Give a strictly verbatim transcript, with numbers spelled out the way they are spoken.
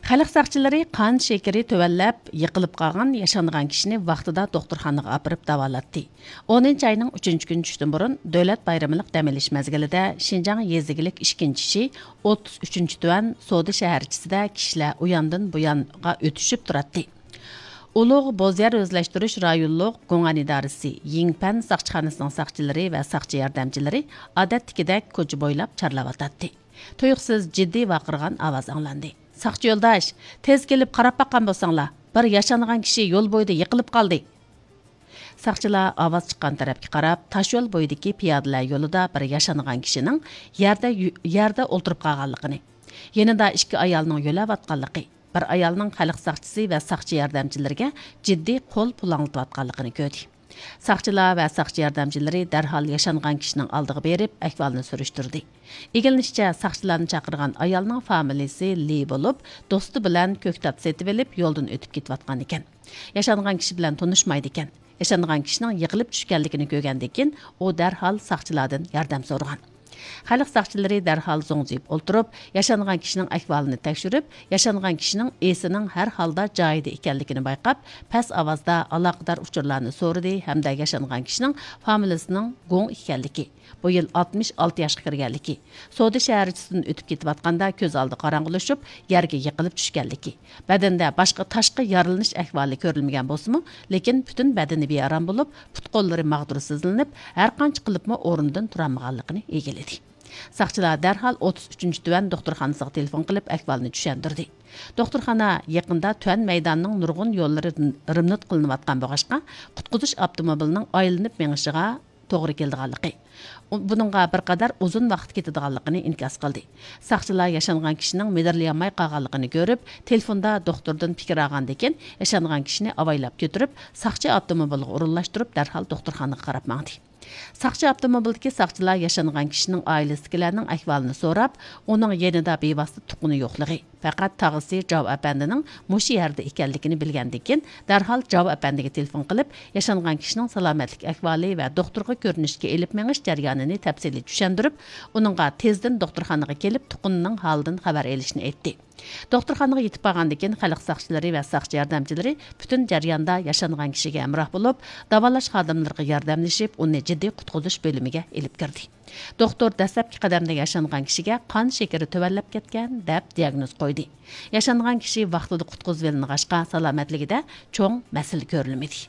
خەلق ساقچىلىرى قان شېكىرى تۆۋەنلەپ، يىقىلىپ قالغان ياشانغان كىشىنى ۋاقتىدا دوختۇرخانىغا ئاپىرىپ داۋالاتتى. ئونىنچى ئاينىڭ ئۈچىنچى كۈنى چۈشتىن بۇرۇن دۆلەت بايرىملىق دەم ئېلىش مەزگىلىدە شىنجاڭ يېزا ئىگىلىك ئىككىنچى ئىشى ئوتتۇز ئۈچىنچى تۈەن سودا شەھەرچىسىدە كىشىلەر ئۇياندىن بۇيانغا ئۆتۈشۈپ تۇراتتى. ئۇلۇغ بوز يەر ئۆزلەشتۈرۈش رايونلۇق گۇڭئەن ئىدارىسى يىڭپەن ساقچىخانىسىنىڭ ساقچىلىرى ۋە ساقچى ياردەمچىلىرى ئادەتتىكىدەك كوچا بويلاپ چارلاۋاتاتتى. تۇيۇقسىز جىددىي ۋارقىرىغان ئاۋاز ئاڭلاندى. «ساقچى يولداش، تېز كېلىپ قاراپ باققان بولساڭلار، بىر ياشانغان كىشى يول بويىدا يىقىلىپ قالدى.» ساقچىلار ئاۋاز چىققان تەرەپكە قاراپ، تاشيول بويىدىكى پىيادىلەر يولىدا بىر ياشانغان كىشىنىڭ يەردە يۈ-، يەردە ئولتۇرۇپ قالغانلىقىنى، يېنىدا ئىككى ئايالنىڭ يۆلەۋاتقانلىقى، بىر ئايالنىڭ خەلق ساقچىسى ۋە ساقچى ياردەمچىلىرىگە جىددىي قول پۇلاڭلىتىۋاتقانلىقىنى كۆردى. ساقچىلار ۋە ساقچى ياردەمچىلىرى دەرھال ياشانغان كىشىنىڭ ئالدىغا بېرىپ، ئەھۋالنى سۈرۈشتۈردى. ئىگىلىنىشىچە، ساقچىلارنى چاقىرغان ئايالنىڭ فامىلىسى لى بولۇپ، دوستى بىلەن كۆكتات سېتىۋېلىپ، يولدىن ئۆتۈپ كېتىۋاتقانىكەن. ياشانغان كىشى بىلەن تونۇشمايدىكەن. ياشانغان كىشىنىڭ يىقىلىپ چۈشكەنلىكىنى كۆرگەندىن كېيىن، ئۇ دەرھال ساقچىلاردىن ياردەم سورىغان. خەلق ساقچىلىرى دەرھال زوڭزىيىپ ئولتۇرۇپ، ياشانغان كىشىنىڭ ئەھۋالىنى تەكشۈرۈپ، ياشانغان كىشىنىڭ ئېسىنىڭ ھەر ھالدا جايىدا ئىكەنلىكىنى بايقاپ، پەس ئاۋازدا ئالاقىدار ئۇچۇرلارنى سورىدى ھەمدە ياشانغان كىشىنىڭ فامىلىسىنىڭ گۇڭ ئىكەنلىكى، بۇ يىل ئاتمىش ئالتە ياشقا كىرگەنلىكى، سودا شەھەرچىسىدىن ئۆتۈپ كېتىۋاتقاندا كۆز ئالدى قاراڭغۇلىشىپ، يەرگە يىقىلىپ چۈشكەنلىكى، بەدەندە باشقا تاشقى يارىلىنىش ئەھۋالى كۆرۈلمىگەن بولسىمۇ، لېكىن پۈتۈن بەدىنى بىئارام بولۇپ، پۇت-قوللىرى ماغدۇرسىزلىنىپ، ھەرقانچە قىلىپمۇ ئورنىدىن تۇرالمىغانلىقىنى ئىگىلىدى. ساقچىلار دەرھال ئوتتۇز ئۈچىنچى تۆۋەن دوختۇرخانىسىغا تېلېفون قىلىپ، ئەھۋالنى چۈشەندۈردى. دوختۇرخانا يېقىندا تۆۋەن مەيداننىڭ نۇرغۇن يوللىرى رېمونت قىلىنىۋاتقان بولغاچقا، قۇتقۇزۇش ئاپتوموبىلىنىڭ ئايلىنىپ مېڭىشىغا توغرا كېلىدىغانلىقى، ئۇ-، بۇنىڭغا بىر قەدەر ئۇزۇن ۋاقىت كېتىدىغانلىقىنى ئىنكاس قىلدى. ساقچىلار ياشانغان كىشىنىڭ مىدىرلىيالماي قالغانلىقىنى كۆرۈپ، تېلېفوندا دوختۇردىن پىكىر ئالغاندىن كېيىن، ياشانغان كىشىنى ئاۋايلاپ كۆتۈرۈپ، ساقچى ئاپتوموبىلىغا ئورۇنلاشتۇرۇپ، دەرھال دوختۇرخانىغا قاراپ ماڭدى. ساقچى ئاپتوموبىلدىكى ساقچىلار ياشانغان كىشىنىڭ ئائىلىسىدىكىلەرنىڭ ئەھۋالىنى سوراپ، ئۇنىڭ يېنىدا بىۋاسىتە تۇغقىنى يوقلىغى، پەقەت تاغىسى جاۋ ئەپەندىنىڭ مۇشۇ يەردە ئىكەنلىكىنى بىلگەندىن كېيىن، دەرھال جاۋ ئەپەندىگە تېلېفون قىلىپ، ياشانغان كىشىنىڭ سالامەتلىك ئەھۋالى ۋە دوختۇرغا كۆرۈنۈشكە ئېلىپ مېڭىش جەريانىنى تەپسىلىي چۈشەندۈرۈپ، ئۇنىڭغا تېزدىن دوختۇرخانىغا كېلىپ، تۇغقىنىنىڭ ھالىدىن خەۋەر ئېلىشنى ئېيتتى. دوختۇرخانىغا يېتىپ بارغاندىن كېيىن، خەلق ساقچىلىرى ۋە ساقچى ياردەمچىلىرى پۈتۈن جەرياندا ياشانغان كىشىگە ھەمراھ بولۇپ، داۋالاش خادىملىرىغا ياردەملىشىپ، ئۇنى جىددىي قۇتقۇزۇش بۆلۈمىگە ئېلىپ كىردى. دوختۇر دەسلەپكى قەدەمدە ياشانغان كىشىگە قان شېكىرى تۆۋەنلەپ كەتكەن، دەپ دىياگنوز قويدى. ياشانغان كىشى ۋاقتىدا قۇتقۇزۇۋېلىنغاچقا، سالامەتلىكىدە چوڭ مەسىلە كۆرۈلمىدى.